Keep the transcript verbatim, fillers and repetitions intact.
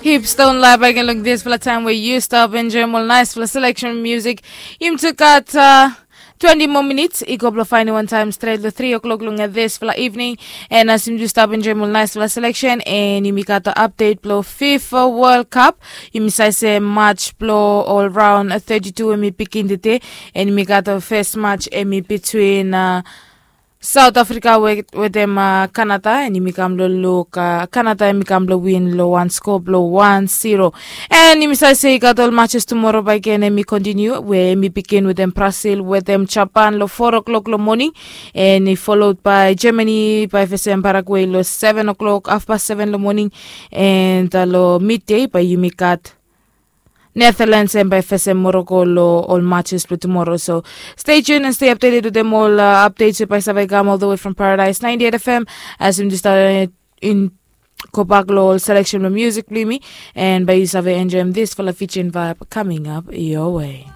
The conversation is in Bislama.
Hips don't lie back and look this for the time where you stop enjoy more nice for the selection music. Im took out uh, twenty more minutes. I go blow finding one time straight the three o'clock long this for the evening. And as him just stop enjoy more nice for the selection and him got the update blow FIFA World Cup. Him say say match blow all round uh, thirty-two and me picking the day. And me got the first match and me between uh, South Africa wetem Canada, en yumi kam blong luk Canada, yumi kam blong win long wan skoa blong wan zero. En yumi save se i gat ol matches tumora bae gen, en mi kontiniu we mi bigin wetem Brazil wetem Japan long four o'clock long moning, en i followed by Germany bae fesem Paraguay long seven o'clock, half past seven long moning, en long midday bae yumi gat Netherlands and by first and Morocco lo all matches for tomorrow. So stay tuned and stay updated with them all uh, updates by Savai Gam all the way from Paradise ninety-eight F M. As in just uh, in go back lo all selection lo music blimi, and by you Savai enjoy this for the Fijian vibe coming up your way.